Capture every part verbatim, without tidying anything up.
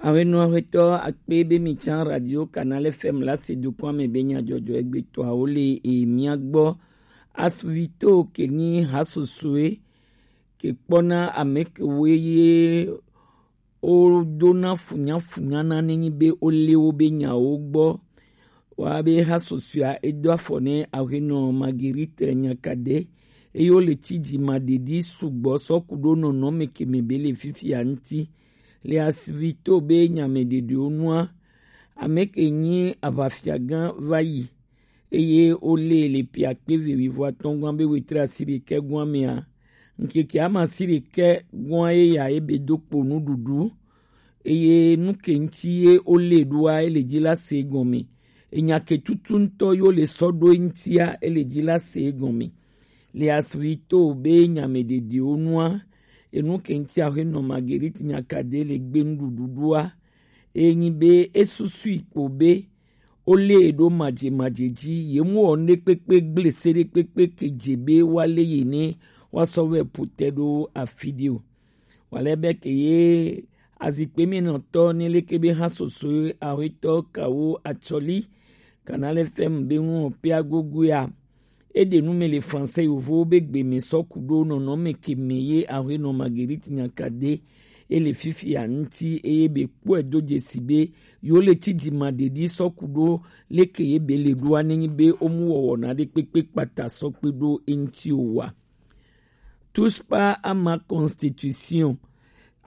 Awenɔ ahuetɔ akpe be mi can Radio Canal F M la se dokun ame be nya jɔjɔ egbe to awo le e mia gbɔ. Asuvito ke nyi hasosoe ke kpɔna ame ke wo ye o dona funya funya na nenyi be o le wo be nyawo gbɔ. Wa be hasosoea e do afɔ ne ahuenɔ Marguerite Nyakade, eye wo le ci ji ma ɖeɖi sugbɔ sɔ ku ɖo nɔnɔme ke me be le fifia ŋuti. Le asivito be nya me ɖeɖiwo nua, ame ke nyi aʋafiagã va yi, eye wo lé le pi akpe eve wuivo atɔ̃ gɔ̃a be wetri asiɖekɛ gɔ̃a mea, ŋkeke ame asiɖekɛ gɔ̃a ye ya ye be do kpo nuɖuɖu, eye nu ke ŋuti ye wo lé ɖoa, ele dzi la se gɔme. Enya ke tutu ŋutɔ yo le sɔ ɖo eŋutia, ele dzi la se gɔme. Le asivito be nya me ɖeɖiwo nua, enu ke ŋuti ahuenɔ Marguerite Nyakade le gbe nuɖuɖu ɖoa, enyi be esusui kpo be wo lé e ɖo madze madze dzi, ye mu wɔ nuɖekpekpe gble se ɖekpekpe ke dze be wa lé ye ne wa sɔ vɛ ƒo te ɖo afi ɖe o. Wale be ke ye azikpe mi nɔtɔ ne leke be hasoso ahuetɔ kawo atsɔli Canal F M be ŋu pe agogo ya. Eɖe nu me le français yovowo be gbe me sɔ ku ɖo nɔnɔme ke me ye ahuenɔ Marguerite Nyakade ele fifia ŋuti, eye be kpɔe do dzesi be yo le ci ji ma ɖeɖi sɔ ku ɖo leke ye be le ɖoa nenyi be wo mu wɔwɔ na ɖe kpekpe kpata sɔ kpe ɖo eŋuti o wa. Touche pas à ma constitution.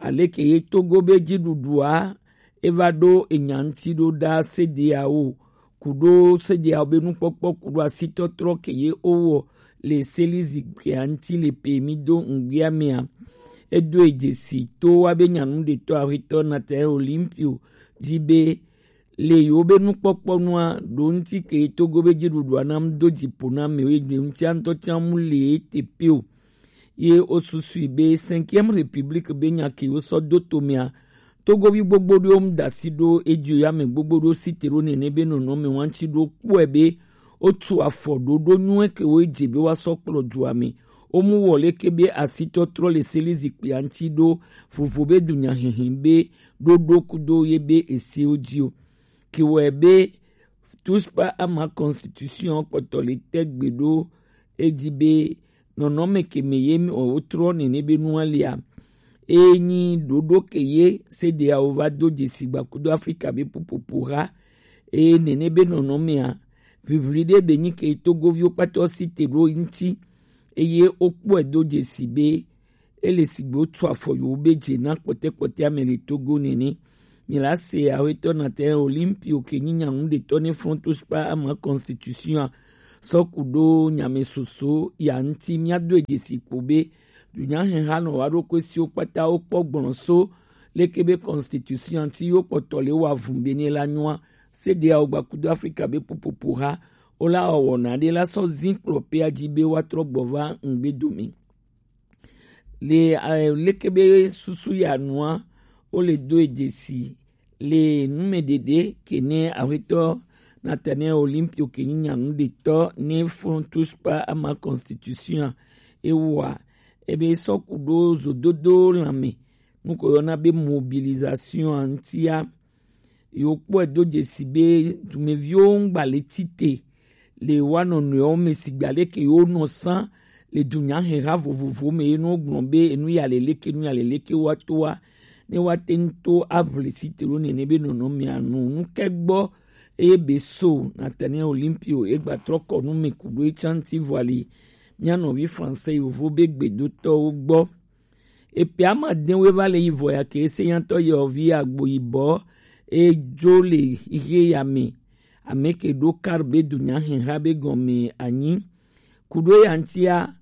Aleke ye Togo be dziɖuɖua eva ɖo enya ŋuti ɖo ɖa C D A O ku ɖo C D A O be nukpɔkpɔ ku ɖo asitɔtrɔ ke ye wowɔ le seli zikpuia ŋuti le pe mi do ŋgbia mea. Edo e dzesi to wa be nyanu ɖetɔ ahuetɔ Nathaniel Olympio dzi be le yewo be nukpɔkpɔ nua ɖo ŋuti ke Togo be dziɖuɖua nam do dziƒo na amewo ye ŋutia ŋutɔ tsã mu le ete pe o. Ye wosusui be Cinquième République be nya ke wosɔ do tomea, Togovi gbogbo ɖewo mu da asi ɖo edzi o, ya ame gbogbo ɖewo si te ɖo nene be nɔnɔme wa ŋuti ɖo kpɔe be wotu afɔ ɖoɖo nyuie ke wo dze be woasɔ kplɔ dua me. Womu wɔ leke be asitɔtrɔ le seli zikpuia ŋuti ɖo vovo be dunyahehe be ɖoɖo kudo ye be esewo dzi o. Ke wɔe be Touche pas à ma constitution kpɔtɔ le te gbe ɖo edzi be nɔnɔme ke me ye mi wotrɔ nene be nua lia. Enyi ɖoɖo ke ye C D A O va do dzesi gbakudo Afrika be popopo ha. Eye nene be nɔnɔmea, ʋiʋli ɖe be nyi ke Togoviwo kpata si te ɖo ŋuti, eye wokpɔe do dzesi be ele sigbe wotu afɔ yewo be dze na kpɔtɛkpɔtɛ ame le Togo nene. Mi la se ahuetɔ Nathaniel Olympio ke nyi nyanu ɖetɔ ne Front Touche pas à ma constitution a sɔ ku ɖo nyame soso ya ŋuti, mia do e dzesi kpo be dunyaheha nɔ wa ɖo kue siwo kpata wo kpɔ gblɔ so leke be constitution ŋuti yo kpɔtɔ le wa vun be ne la nyua. C D A O gbakudo Afrika be popopo ha wo la wɔwɔ na ɖe la sɔ zin kplɔ pe adzi be wa trɔ gbɔ va ŋgbe dome. Le eh, leke be susu ya nua, wo le do e dzesi le numeɖeɖe ke ne ahuetɔ Nathaniel Olympio ke nyi nyanu ɖetɔ ne Front Touche pas à ma constitution a, ewa ebe sɔ ku ɖo zododo lãme, nu ko yɔna be mobilisation a ŋutia. Yewo kpɔe do dzesi be dumeviwo ŋgba le tite le wa nɔnɔewo me sigba leke yewo nɔ sã le dunyaheha vovovo me ye nɔ gblɔ be enu ya le leke, enu ya le leke wa to wa, ne wa te ŋu to aʋli si te ɖo nene be nɔnɔmea nu nu ke gbɔ. Eye be so Nathaniel Olympio egba trɔ kɔ nu me ku ɖo etsã ŋuti vɔ ali mia nɔvi français yovo be gbedotɔwo gbɔ. Epe ama de we va le yi vɔ ya ke ese nyatɔ yɔ vi agbo yibɔ e jo le ihe ya me. Ame ke ɖo kar be dunyaheha be gɔme anyi. Ku ɖo ya ŋutia,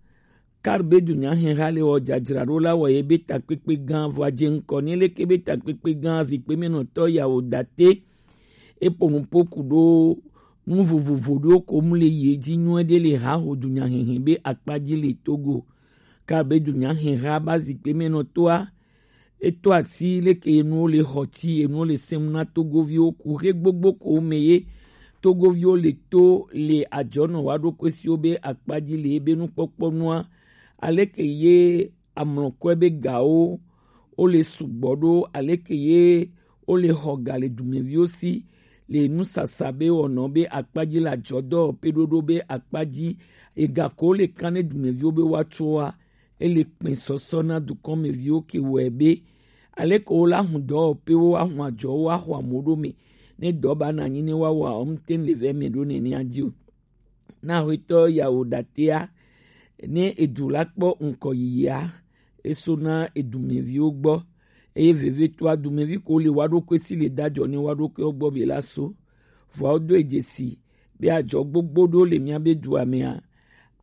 kar be dunyaheha le wɔ dzadzraɖo la wɔ ye be takpekpe gã vɔ adze ŋkɔ ne leke be takpekpe gã zikpe me nɔtɔ ya wo date. Eƒo nuƒo ku ɖo nu vovovo ɖewo ko mu le yi edzi nyuie ɖe le haho dunyahehe be akpa dzi le Togo. Ka be dunyaheha ba zikpe me nɔ toa, eto asi leke enuwo le xɔ ti enuwo le sem na Togoviwo ku xe gbogbo ko me ye Togoviwo le to le adzɔ nɔ wa ɖo kɔe siwo be akpa dzi le ebe nukpɔkpɔ nua, aleke ye amlɔkɔe be gawo wo le sugbɔ ɖo, aleke ye wo le xɔ ga le dumeviwo si le nusasa be wɔnɔ be akpa ji le ajɔdɔ pe ɖoɖo be akpa ji, ega ko wo le kan ne dumeviwo be woatso wa, e le kpɛn sɔsɔ na dukɔmeviwo ke wɔe be aleke wo la hun dɔ pe wo wa hun ajɔ wo wa xɔ amewo ɖo me ne dɔ ba na anyi ne wa wa wo mte le vɛ me ɖo nenea ji o. Na xwetɔ yawo ɖatea ne edu la kpɔ ŋkɔ yiyia, eso na edumeviwo gbɔ, eye vevetoa dumevi ko le wa ɖokui si le dajɔ ne wa ɖokui gbɔ be la so. Vɔa wodo dzesi be ajɔ gbogbo ɖo le mía be dua mea,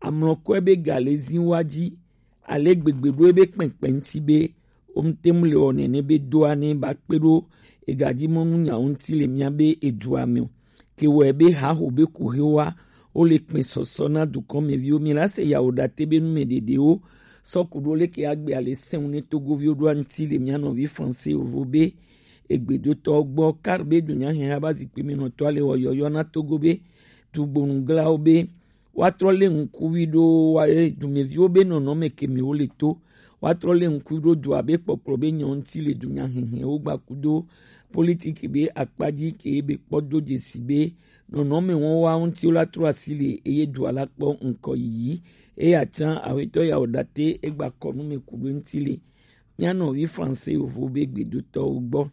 amlɔkɔe be ga le zi wa ji, ale gbegbe ɖo ebe kpɛnkpɛn ŋuti be wo ŋuti mu le wɔ nene be doa ne ba kpe ɖo egaji mɔnu nyawo ŋuti le mía be edua me o. Ke wɔe be haho be kuhewa wo le kpɛ sɔsɔ na dukɔmeviwo. Mi la se yawo ɖate be nume ɖeɖewo sɔ ku ɖo leke agbe ale sɛn ne togoviwo ɖo aŋuti le mía nɔvi français ovo be egbedotɔ gbɔ kar be dunya hɛn haba zikpui me nɔtɔ ale wɔ yɔyɔ na togo be dugbonuglawo be woatrɔ lé ŋkuvi ɖo wa-, e, dumeviwo be nɔnɔme ke me wo le to. Woatrɔ lé ŋkuvi ɖo dua be kpɔkplɔ be nyɔ ŋuti le dunya hɛhɛwo gbakudo politiki be akpa ji ke be kpɔ do dzesi be nɔnɔme wɔn wa ŋuti wo la trɔ asi le eye dua la kpɔ ŋkɔ yiyi. Eya tsã awetɔ ya wo ɖate egba kɔ nu me ku ɖo ŋuti le mía nɔvi français yovo be gbedotɔwo gbɔ.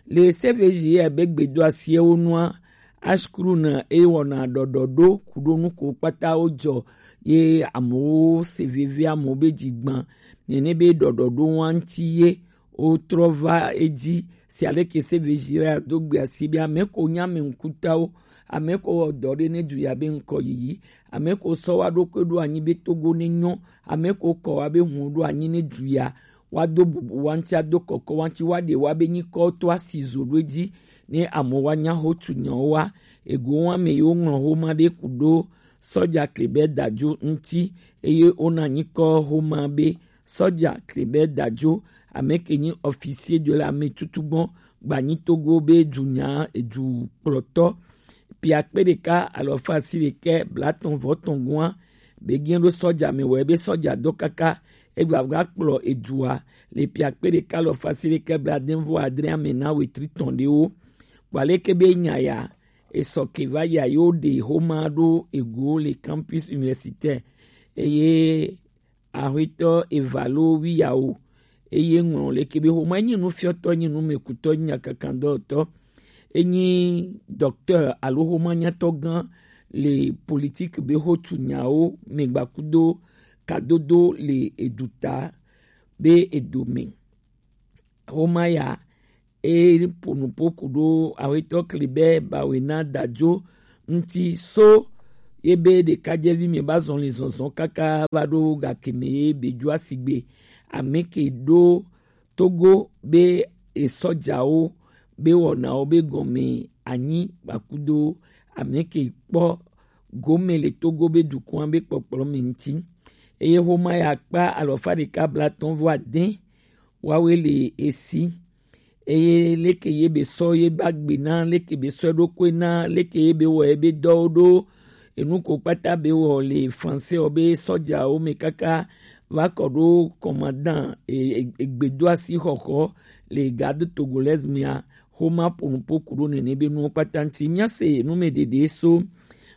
Le C V J ya be gbedo asiɛwo nua, ashkru na ewɔna ɖɔɖɔɖo kuɖo nuko kpata wo jɔ ye amewo se veve amewo be dzigban nene be ɖɔɖɔɖo wa ŋuti ye wotrɔ va edzi. Si aleke C V J ya do gbe asi be ame ko nya ame ŋkutawo, ame ko wɔ dɔ ɖe ne du ya be ŋkɔ yiyi, ame ko sɔ wa ɖokui ɖo anyi be Togo ne nyɔ, ame ko kɔ wa be hun ɖo anyi ne du ya wa do bubu wa ŋuti, ado kɔkɔ wa ŋuti, wa ɖe wa be nyikɔ to asi zo ɖo edzi, ne amewo wa nya ho tu nyawo wa. Ego wa me yewo ŋlɔ homa ɖe ku ɖo sɔja Klebɛ Dadzo ŋuti, eye wona nyikɔ homa be sɔja Klebɛ Dadzo, ame ke nyi officier de la me tutu gbɔn gbanyi Togo be dunya edu kplɔtɔ. Pia kpe ɖeka alɔfa asi ɖekɛ blatɔn vɔ tɔn gɔn be gɛn ɖo sɔja me wɔ ebe sɔja dɔ kaka egba va kplɔ edua le pia kpe ɖeka alɔfa asi ɖekɛ blaadɛnvɔ adre ame na wetri tɔn ɖewo. Kpɔ aleke be nya ya esɔ ke va ya yo ɖe homa ɖo ego le campus universitaire eye Axwetɔ Evalo Wiyawo, eye ŋlɔ leke be homa enyi nufiɔtɔ, enyi numekutɔ, enyi nyakakandɔtɔ, enyi docteur alo homa nyatɔ gã le politique be hotu nyawo me gbakudo kadodo le eduta be edome. Homa ya e po nupo ku ɖo awetɔ Klebɛ Bawena Dadzo ŋuti so ye be ɖekadzevi mi ba zɔn li zɔnzɔn kaka va ɖo gake me ye be dzo asigbe ame ke ɖo Togo be esɔjawo be wɔnawo be gɔme anyi gbakudo ame ke kpɔ gome le Togo be dukɔa be kpɔkplɔ me ŋuti. Eye homa ya kpa alɔfa ɖeka blatɔn vɔ adɛn wawe le esi. Eye leke ye be sɔ ye ba gbe na, leke be sɔ eɖokui na, leke ye be wɔ ye be dɔwo ɖo, enu ko kpata be wɔ le français wɔ be sɔjawo me kaka va kɔ ɖo commandant e, e, egbedoasi xɔxɔ le garde togolaise mea, homa po nupo ku ɖo nene be nuwo kpata ŋuti. Mía se nu me ɖeɖe so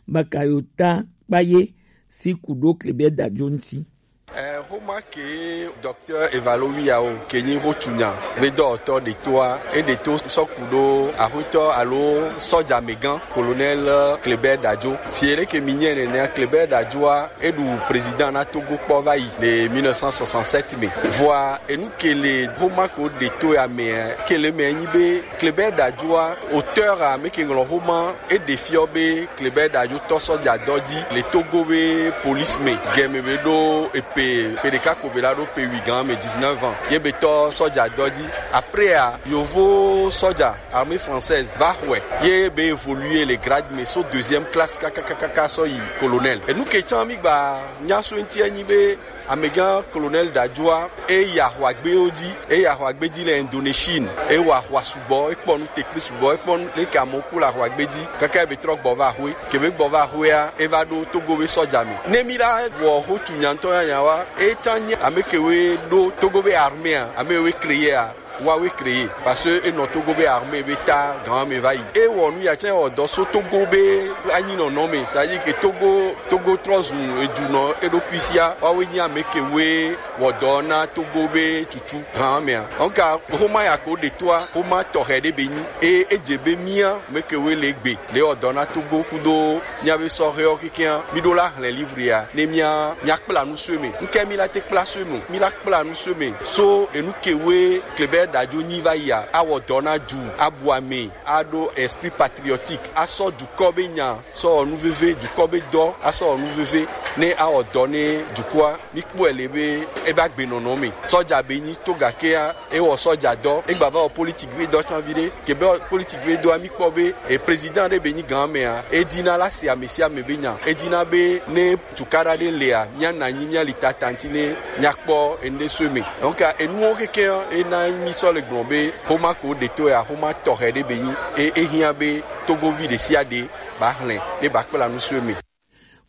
Bakayota Kpaye si ku ɖo Klebɛ Dadzo ŋuti. Eh, homa ke docteur Evalo Wiyawo ke nyi hotunya be dɔwɔtɔ ɖetoa, e ɖeto sɔ ku ɖo axwetɔ alo sɔjamegã colonel Klebɛ Dadzo. Si ele ke mi nyɛ nenea, Klebɛ Dadzoa e ɖu président na Togo kpɔ va yi le mille neuf cent soixante-sept me. Vɔa enu ke le homa ko ɖeto ya me ke le me nyi be Klebɛ Dadzoa auteur a me ke ŋlɔ homa e ɖe fiɔ be Klebɛ Dadzo tɔ sɔja dɔ dzi le Togo be police me. Gɛme be ɖo epe, pe ɖeka ko be la ɖo pe wi gan me, dix-neuf ans. Ye be tɔ sɔja dɔ dzi. Après a, yovo sɔja, armée française, va xɔe. Ye be évoluer le grade me so deuxième classe kakakaka sɔ yi colonel. Enu ke tsã mi gba nya so ŋuti enyi be amegã colonel Dadzoa, e yi ahwagbewo dzi, e yi ahwagbe dzi le Indonésie. E wɔ ahwa sugbɔ, e kpɔ nu tekpe sugbɔ, e kpɔ nu leke amewo ku le ahwagbe dzi. Kaka e be trɔ gbɔ va axwe. Ke be gbɔ va axwea, e va ɖo Togo be sɔja me. Ne mi la wɔ hotu nya ŋutɔ nyanya wa, e tsã nye ame ke we ɖo Togo be armée a, ame we créer a. Wa we créé, parce que e nɔ Togo be armée be ta gan me va yi. E wɔ nu ya tsɛ wɔ dɔ so Togo be anyi nɔnɔ me. C'est-à-dire que Togo, Togo trɔ zu edu nɔ eɖokui sia. Wa we nyi ame ke we wɔ dɔ na Togo be tutu gan mea. Nka homa ya ko de toa, homa tɔxɛ de be nyi. E, e dze be mia me ke we le gbe, le wɔ dɔ na Togo kudo mia be sɔhɛwo kekeŋ, mi ɖo la hlẽ livre ya, ne mia, mia kpla nu so me. Nke mi la te kpla so me, mi la kpla nu so me. So enu ke we Kleber Dajo nyi va ya, a wɔ dɔ na du, a bu ame, a ɖo esprit patriotique, a sɔ dukɔ be nya, sɔ wɔ nu veve, dukɔ be dɔ, a sɔ wɔ nu veve, ne a wɔ dɔ ne dukɔa, mi kpɔe le be e ba gbe nɔnɔ me. Sɔja be nyi to gakea, e wɔ sɔja dɔ, e gba va wɔ politique be dɔ tsan vi ɖe. Ke be politique be dɔa mi kpɔ be e président ɖe be nyi gan mea, e dina la se ame sia ame be nya. E dina be ne tukaɖa ɖe lea, mia na nyi mia li tata ŋti ne mia kpɔ enu ɖe so me. Donc enuwo keke e na mi sɔ le gblɔ be homa ko de to ya, homa tɔxɛ ɖe be nyi. E, e hiã be Togovi ɖe sia ɖe ba hlẽ, ne ba kpla nu so me.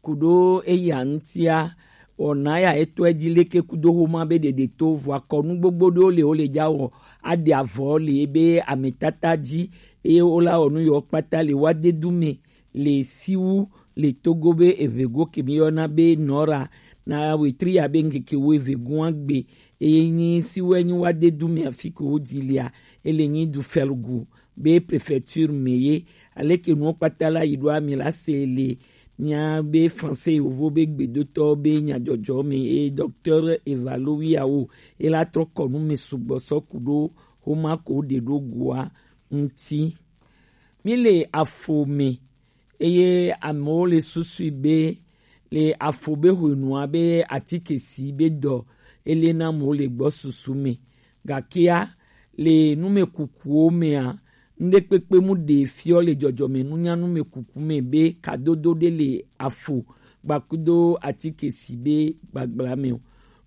Kuɖo eya ŋutia, wɔna ya etɔe dzi leke kudo homa be ɖeɖe to vɔ akɔnu gbogbo ɖewo le wo le dza wɔ aɖe avɔ le ebe ametata dzi eye wola wɔ nu yewo kpata le wadedu me le siwu le Togo be evego ke mi yɔna be nɔra na wetri ya be ŋkeke wo evego agbe eye nyi siwu enyi wadedu me afi ke wo dzi lia ele nyi du fɛlugu be préfecture me ye. Aleke nuwo kpata la yi ɖo ami la se le mia be français yovo be gbedotɔ be nyadzɔdzɔ me eye docteur Evalowiawo e la trɔ kɔ nu me sugbɔ sɔ ku ɖo homa ko ɖe ɖo goa ŋti. Mi le afo me eye amewo le susui be le afo be hwenua be atike si be dɔ ele na amewo le gbɔ susu me. Gakea le numekukuwo mea, nuɖekpekpe mu ɖe fiɔ le dzɔdzɔme nunya numekuku me be kadodo ɖe le afo gbakudo atike si be gbagbla me o.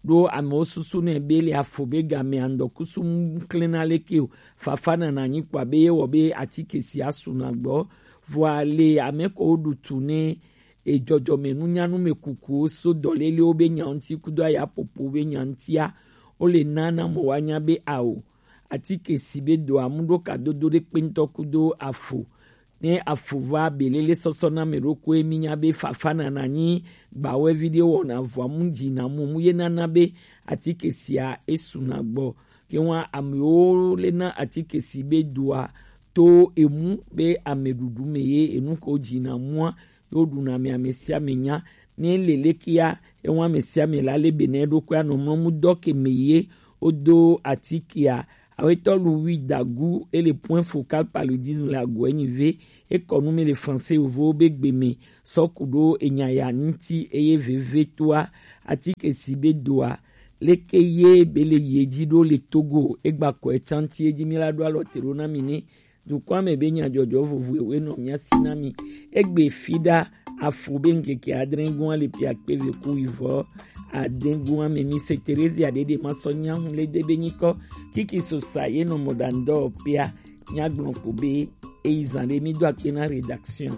Ɖo amewo susu nɛ be le afo be game andɔkusu ŋklena leke o. Fafa nana nyi kpɔ abe ye wɔ be atike si asu na gbɔ. Vɔa le ame ko ɖu tu ne edzɔdzɔme nunya numekukuwo so dɔlelewo be nya ŋuti kudo ayapopo be nya ŋutia, wo le na na mɔ wa nya be ao atike si be do amu ɖo kadodo ɖe kpe ŋutɔ kudo afo. Ne afo va belele sɔsɔ na me ɖokui mi nya be fafa nana nyi gbawɛvi ɖe wɔna vɔa mu dzi na mu mu ye nana be atike sia esu na gbɔ. Ke wa amewo le na atike si be doa to emu be ameɖuɖu me ye enu ko dzi na mua yo ɖuna me ame sia ame nya. Ne le lekea ewa ame sia ame la le be ne ɖokui anɔ mlɔ mu dɔ ke me ye wodo atikea. Awetɔ lu wi dagu ele point focal paludisme la goe nyi ve. Ekɔ nu me le français yovo be gbe me sɔ ku ɖo enya ya ŋuti eye veve toa atike si be doa leke ye be le ye dzi ɖo le Togo egba kɔ etsanti edzi mi la ɖo alɔ te ɖo na mi ne dukɔa me be nyadzɔdzɔ vovovoe nɔ mia si na mi. Egbe fi ɖa afo be ŋkeke adre gua le pia kpe ve ku ivɔ ade gua me mi se Terezia ɖeɖe ma sɔ nya hu le de be nyikɔ kiki sosa ye nɔ mɔ ɖa ŋdɔ pia nya gblɔ ko be eyi zan ɖe mi do akpe na rédaction.